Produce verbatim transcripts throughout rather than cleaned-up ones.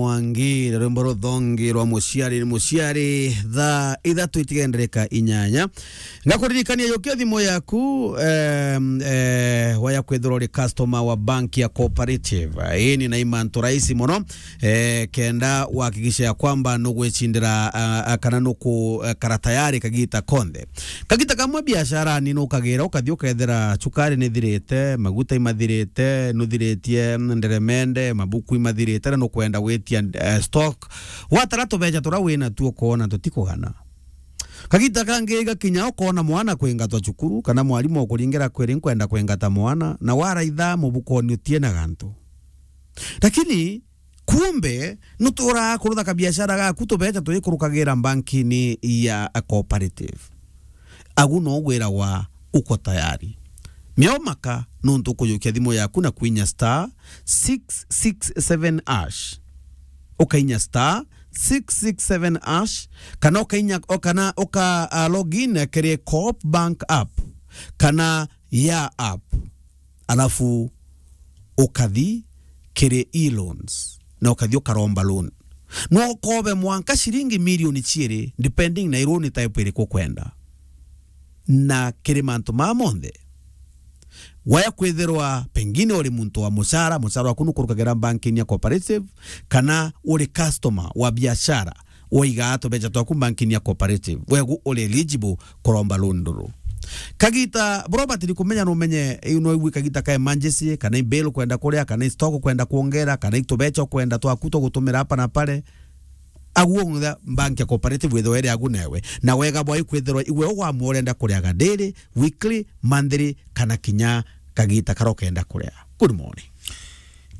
Mwangi, na rwimbo ruthongi rwa Muciari ni Muciari, thaa ithatu itigendereka inyanya. Ngakuririkania yukia thimu yaku, em, eh, waya kwithirwa uri customer wa bank ya Cooperative. Ii ni na imantu rahisi mono, eh, kenda wahakikisha ya kwamba nugwicindira, ah, ah, kana nuku, eh, kara tayari kagita konthe. Kagita kamwe biashara ni nukagira, ukathi ukethira cukari ni thirite, maguta imathirite, nuthiritie nderemende, mabuku imathirite, na nukwenda gwitia, eh, stock. Watara tubeca turia wina tuo ukoona tutikugana. Kagita kangi igakinya ukoona mwana kwingatwa cukuru, kana mwarimu ukuringira kwiri nkwenda kwingata mwana, na waraitha mubukoni utie na gantu. Lakini kumbe, nuturaa kurutha kabiashara gaku tubeca tuikurukagira bankini ya Cooperative. Agu no gwiragwa uko tayari. Miao maka nuntu ukujukia thimu yaku na kwinya star six six seven hash. Ukainya star six six seven hash, kana ukainya, o kana uka, ah, log in kiri Coop Bank app, kana ya app. Alafu ukathi kiri e-loans, na ukathi ukaromba loan. No ukobe mwanka ciringi milioni ciiri, depending na i loan type iriku ukwenda. Na kiri mantu maa monthe, waya kwithirwa pengine uri muntu wa mucara, mucara waku nukurukagira bankini ya Cooperative, kana uri customer wa biashara, waigaa tubeca twaku bankini ya Cooperative, wegu uri eligible kuromba loan ruru. Kagita, Robert, ni kumenya numenye, iu no igwe kagita ka emergency, kana i bill kwenda kuria, kana i stock kwenda kuongera, kana i tubeca kwenda twaku twa gutumira hapa na pale. Aguo ng'utha bank ya Cooperative withirwa iri agu newe. Na wega bwa ikwithirwa igwe ugwamua urenda kuriaga daily, weekly, monthly, kana kinya kagita karia ukenda kuria. Good morning.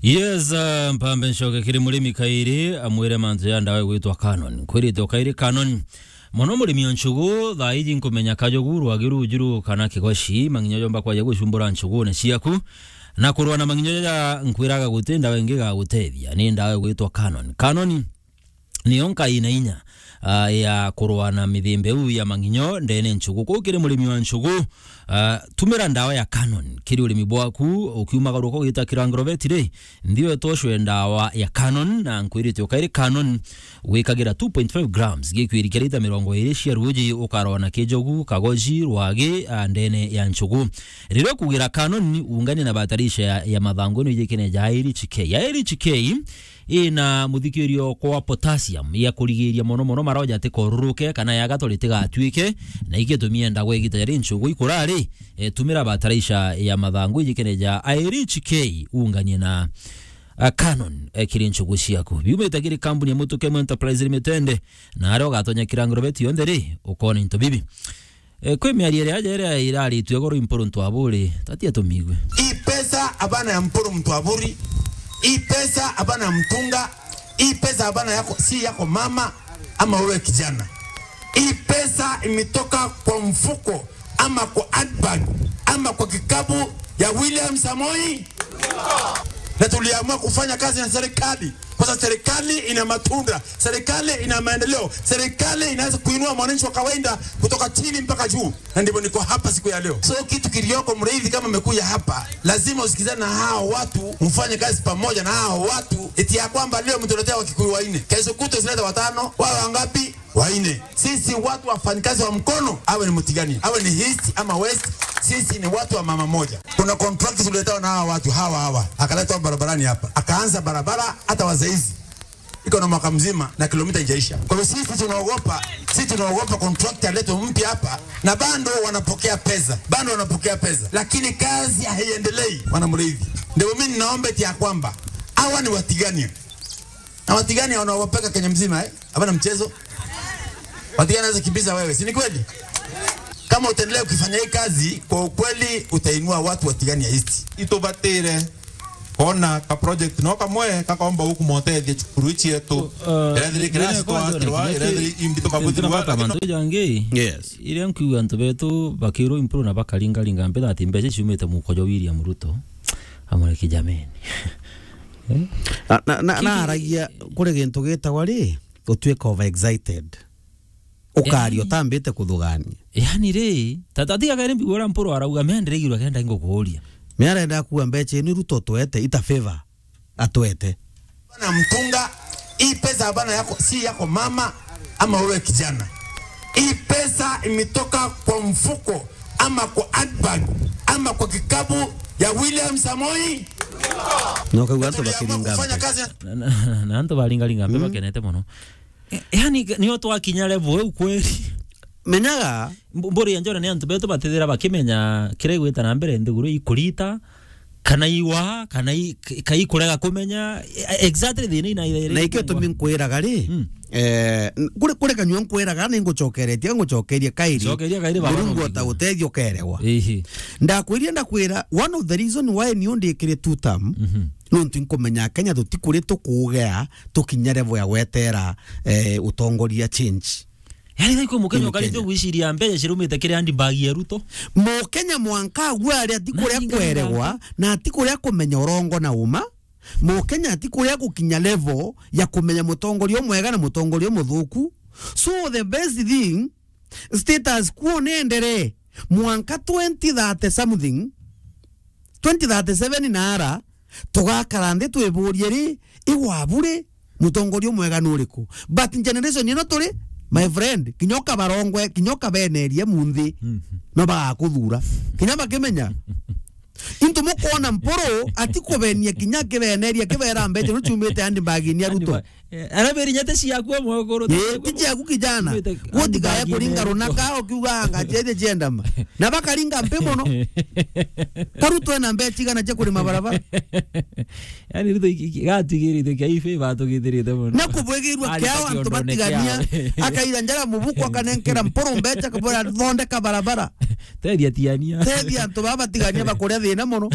Yes, uh, mpambe ncoke kiri murimi kairi, amwire mantu ya ndawa igwitwa Canon. Kwirite o kairi Canon. Mono murimi o nchugu, thaa iji nkumenya kajogu, rwagi rujuru kana kigoci, mang'inyo jomba kwaja gucumbura nchugune ciaku. Na kurwa na mang'inyo jaja nkwiraga guti ndawa ingi gagutethia, ni ndawa igwitwa Canon. Canon niyo nkai na inya, ah, ya kurwa na mithemba iu ya mang'inyo ndene nchugu. Kwou kiri murimi wa nchugu, ah, tumira ndawa ya Canon kiri urimi bwaku, ukiumagaruka ugita kira agrovet ri, nthi wetwa ucwe ndawa ya Canon, na nkwirite ukairi Canon wikagira two point five grams gikwiri kia lita mirongo iri cia ruuji, ukarwa na kijogu, kagoji, rwagi, ah, ndene ya nchugu. Riria ukugira Canon, ungania na bataraitha ya, ya mathangu ino ijikene ja Irish K. Ya Irish K, ina muthikirio kwa potassium ya kurigiria mono mono maroja atikoruruke kana yaga tori tigatuike, na igitumia ndagwa igita jari nchugu ikura ri, e, tumira bataraitha ya mathangu ijikene ja Irish K unganie na, a, Canon, e, kiri nchugu ciaku. Biumite kiri kambuni ya Mutuke Enterprise Limited, na aria ugatonya kira ngorobeti yonthe ri, ukona into bibi. E, kwi miario iria aja iria iraritue goro Impuru Ntwaburi, tatia tumigue. Hii pesa hapana ya Mpuru Ntwaburi, hii pesa hapana ya mtunga, hii pesa hapana yako, si yako mama ama wewe kijana. Hii pesa imetoka kwa mfuko ama kwa handbag ama kwa kikapu ya William Samoei, na tuliamua kufanya kazi na serikali. Kwa sababu serikali ina matunda, serikali ina maendeleo, serikali inaweza kuinua mwananchi wa kawaida kutoka chini mpaka juu, na ndivyo niko hapa siku ya leo. So kitu kilioko, Muriithi, kama umekuja hapa, lazima usikizane na hao watu, mfanye kazi pamoja na hao watu, eti ya kwamba leo mtuletea Wakikuyu wanne, kesho kutwa usilete watano, wawe wangapi? Wanne. Sisi watu wafanyikazi wa mkono, awe ni Mutigania, awe ni East ama West, sisi ni watu wa mama moja. Kuna contract tuliletewa na hawa watu hawa hawa, akaletwa barabarani hapa, akaanza barabara hata wa saizi iko na mwaka mzima na kilomita haijaisha. Kwa hivyo sisi tunaogopa, sisi tunaogopa contract aletwe mpya hapa, na bado wanapokea pesa, bado wanapokea pesa, lakini kazi haiendelei. Wana Muriithi, ndio mimi ninaomba eti ya kwamba hawa ni Watigania, na Watigania wanaogopeka Kenya mzima, eh? Hapana mchezo. Watigania anaweza kukimbiza wewe, si ni kweli? Kama utaendelea ukifanya hii kazi, kwa ukweli utainua watu wa Tigania East. Itubatire kona ka project no kamwe kakomba gukumotethia cukuru ici yetu. Uh, irethiri kwanza kirasi twatirwa, irethiri imbi tukabuthirwa, lakini mantu jangi. Yes. Iria nkiuga antu betu bakirwo improve na bakaringaringa mbeca ati mbeca ciumite muko jwa William Ruto. Amureke jameni. Eh? Na, na, na, Kiki- na aragia kuri gintu gitagwa ri, utuika over excited. Ukaria utambite kuthugania. Yani ri, tata tiga kere mbigura Mpuru arauga, "Me ndiregirwa kenda ingukuria." Me arenda kuga mbeca inu Ruto twete, ita favor atwete. Na mtunga, Hapana yako, si yako mama ama wewe kijana. Hii pesa imetoka kwa mfuko ama kwa handbag ama kwa kikapu ya William Samoei. No kau antu tuliamua bakiringa kufanya mpe. Kazi. Na, na, na antu baringariga mpe bakenete mono. E, yani, nio twakinya level iu kweli. Menyaga. Mb-, mburi ya njore ni antu betu batithira bakimenya kiria igwita na mbere nthiguru ikurita, kana iwa, kana i-, ka ikurega kumenya, e, exactly thina ina ire. Na ikio tumi nkwiraga ri, mm, eh, n-, kuri, kuri kanyua nkwiraga ni ngucokeretie, ngucokerie kairi. Cokeria kairi baba. Murungu no ota uteithio kerewa. Ihi. Ndakwirie ndakwira, one of the reason why niu ndikire two term, mhm, nontu nkumenya Kenya tutikuri tukugea tukinya level ya gwetera, eh, utongoria change. Yani, thaiko Mukenya ukari tu gwiciria mbeca cirumite kiri handbag ya Ruto. Mukenya mwanka agwe ari atikuria kweregwa na atikuria kumenya urongo na uma. Mukenya atikuria gukinya level ya kumenya mutongoria umwega na mutongoria umuthuku. So the best thing, status quo nenderee mwanka twenty thirty something, twenty thirty-seven na ara, tugakara nthi twiburie ri, igwabu ri, mutongoria umwega ni uriku? But generation ino turi, my friend, kinya ukabarongwe, kinya ukabeneria munthi, mhm, no bagakuthura. Kinya bakimenya. Into mukwona Mpuru atikubenia kinya akibeneria, akibera mbeca no ciumite handbag-ini ya Ruto. Eh, araberi nyate ciaku amwe ukuru. Eh, ti ciaku kijana. Gutigae kuringa runaka ukiuga anga ciete ciendama. Na bakaringa mpi mono. Karuto ena mbeca igana cia kurima barabara. Yani, Ruto iki-, iki-, gatigirite kia ife batugithirite mono. Na kubwegirwa kiao antu batigania. Akaira njara mubuko akanenkera Mpuru mbeca kabora thondeka barabara. Tethia tiania. Tethia antu baba batigania bakuria thina mono.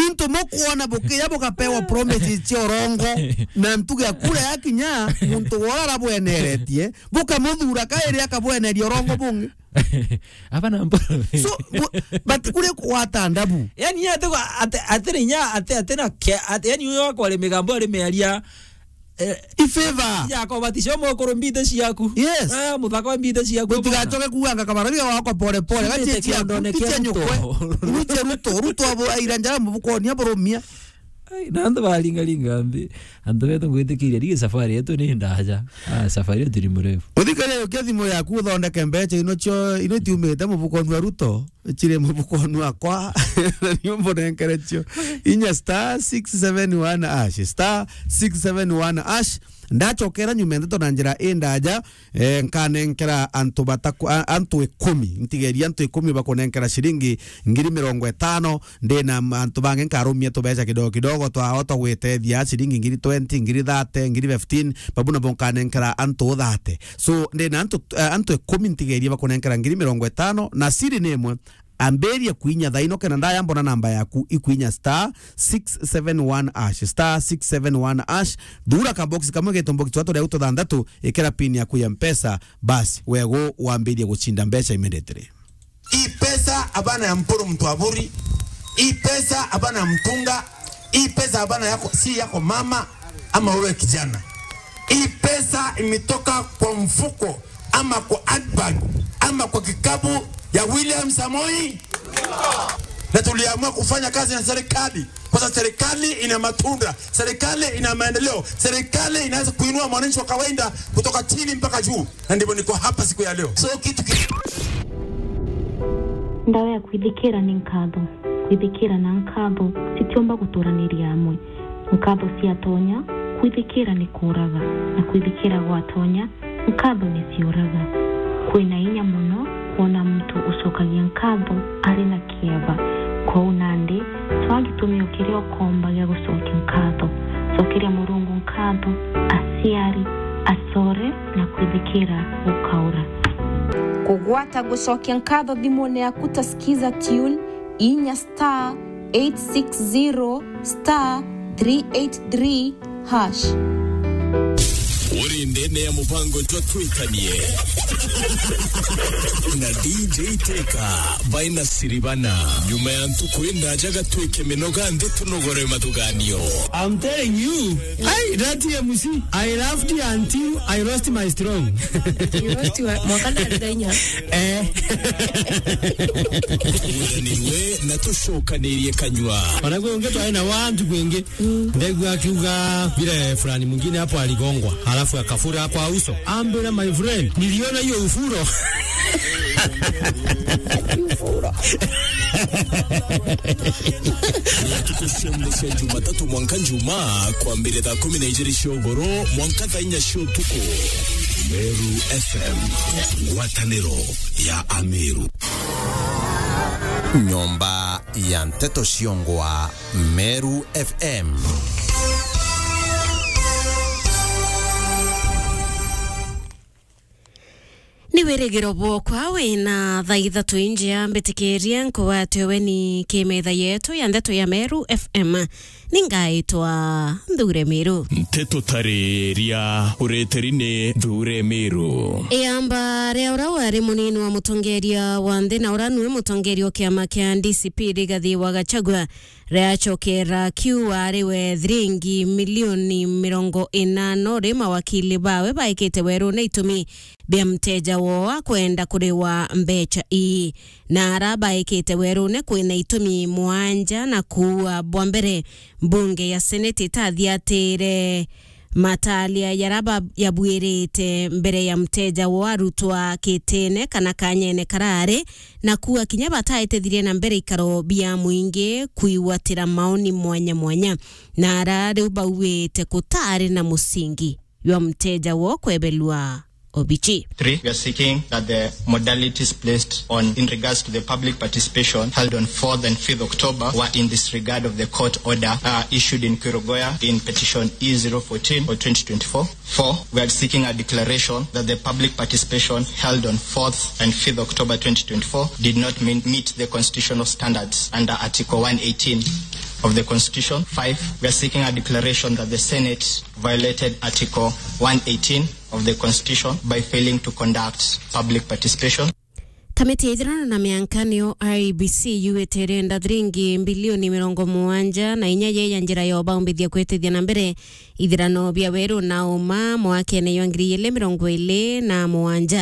Into mukwona bukiya bugapewa promises cia urongo na ntuge ya kura yakinya, muntu wora arabweneretie, bukamuthura kairi akabweneria urongo bungi. Aba na mbo. So, bu-, but kuri kwata ndabu. Yani, ate kwa, ate, ate rinya, ate, ate na ke-, ate, yani, uyo akwari migambo ari miaria, eh, i favor. Ya kwa batisho mukuru mbite ciaku. Yes. Ah, muthaka wa mbite ciaku. Gutigacoke kuuga anga kabara biga wakwa pole pole. Gatie ciaku, kiondone kia tia nyukwe. Ruto. Ruto, Ruto, Ruto abo aira njara mubukoni aboromia. Ai, na antu baringaringa mbi. Antu betu ngwitikiria, rigi safari yetu ni ndaja. Ah, safari yetu ni mrefu. Uthikare ukia thimu yaku uthondeke mbeca ino cio, ino tiumite mubukoni wa Ruto. Ciri mubukoni wakwa. Na niumbo nenkere cio. Inya star six seven one hash. Star six seven one hash. Ndacokera nyuma ndeto na njira indaja. Eh, nkanenkera antu bataku-, a-, antu ikumi. Ntigeria antu ikumi bakunenkera ciringi ngiri mirongo itano. Ndina antu bangi nkarumia tubeca kidogo kidogo twao twa gwitethia, ciringi ngiri twenty, ngiri thirty, ngiri fifteen, babu nabo nkanenkera antu thirty. So, ndina antu, eh, antu ikumi ntigerie bakunenkera ngiri mirongo itano, na siri ni imwe, ambirie kuinya thaino kenda ndaya mbona namba yaku ikuinya star six seven one hash, star six seven one hash, thura ka box kamwe geto box twa turia tuthanthatu, ikira pin yaku ya Mpesa, basi, wego wambirie gucinda mbeca immediately. Hii pesa hapana ya Mpuru mtu aburi. Hii pesa hapana ya mtunga. Hii pesa hapana yako, si yako mama ama wewe kijana. Hii pesa imetoka kwa mfuko ama kwa handbag ama kwa kikapu ya William Samoei. Na tuliamua kufanya kazi na serikali. Kwa sababu serikali ina matunda, serikali ina maendeleo, serikali inaweza kuinua mwananchi wa kawaida kutoka chini mpaka juu. Na ndivyo niko hapa siku ya leo. So, kitu ki- Ndawa ya kwithikira ni nkatho. Kwithikira na nkatho citiumba guturaniria amwe. Nkatho ciatonya, kwithikira ni kuuraga, na kwithikira gwatonya, nkatho ni ciuraga. Kwina inya mono kwona muntu ucokagia nkatho ari na kieba. Kwou nandi, cwaa gitumio kiria ukomba gia gucokia nkatho. Cokeria Murungu nkatho, aciari, acore, na kwithikira gukaura. Kugwata gucokia nkatho thimune yaku ta Skiza Tune, inya star eight six zero star three eight three hash. Uri ndene ya mubango jwa Twikanie na D J Teka by Nasiribana. Nyuma ya ntuku indaja gatwike minoga nthi tunogore mathuganio. I'm telling you, hey, that M C, I laughed until I lost my strong. You lost your, mwaka ndarira inya. Eh. Turanirwe na tucokanirie kanywa. Ona kwi ungi twaina wantu kwingi. Ndegua akiuga vile fulani mwingine hapo aligongwa, halafu akafura kwa uso. Ambira, my friend, niliona hiyo ufuro. Tukushembe cia Jumatatu mwanka Njuma, kwambire thaa kumi na ijiri cia ugoro mwanka thaa inya cia utuku. Meru F M, ngwataniro ya Ameru. Nyomba ya nteto ciongwa Meru F M. Ni wirigiro bwokwa wina thaa ithatu injia mbitikirie nkugwate weni kimetha yetu ya ndeto ya Meru F M. Ningaitwa Nthure Miru. Nteto tariria ureteri ni Nthure Miru. Iamba ria ura wari munini wa mutongeria wa nthi na ura nue mutongeria o kiama kia D C P Rigathi wa Gachagua riacokera kiu ari we thiringi milioni mirongo inano ri mawakili bawe baikite werune itumi bia mteja woo akwenda kuriwa mbecha ii. Na ara baikite werune kwina itumi mwanja na kuua. Bwa mbere, mbunge ya Senate itathiatire matalia jara ba-, yabwirite mbere ya mteja woo arutwa kitine kana kanyene karari, na kuua kinya bataetethirie na mbere ikaro bia mwingi kwigwatira maoni mwanya mwanya, na ara riu bauite kutari na musingi jwa mteja woo kwebelua obichi. Three, we are seeking that the modalities placed on in regards to the public participation held on fourth and fifth October were in disregard of the court order, uh, issued in Kirogoya in petition E zero fourteen of twenty twenty-four. Four, we are seeking a declaration that the public participation held on fourth and fifth October twenty twenty-four did not mean, meet the constitutional standards under Article one eighteen of the Constitution. Five, we are seeking a declaration that the Senate violated Article one eighteen of the Constitution by failing to conduct public participation. Kamiti ya ithurano na mianka niyo I E B C yuite irenda thiringi mbilioni mirongo mugwanja na inya ye ya njira ya ubaumbithia kwitithia na mbere ithurano bia weru na uma mwakene jwa ngiri igiri mirongo iri na mugwanja.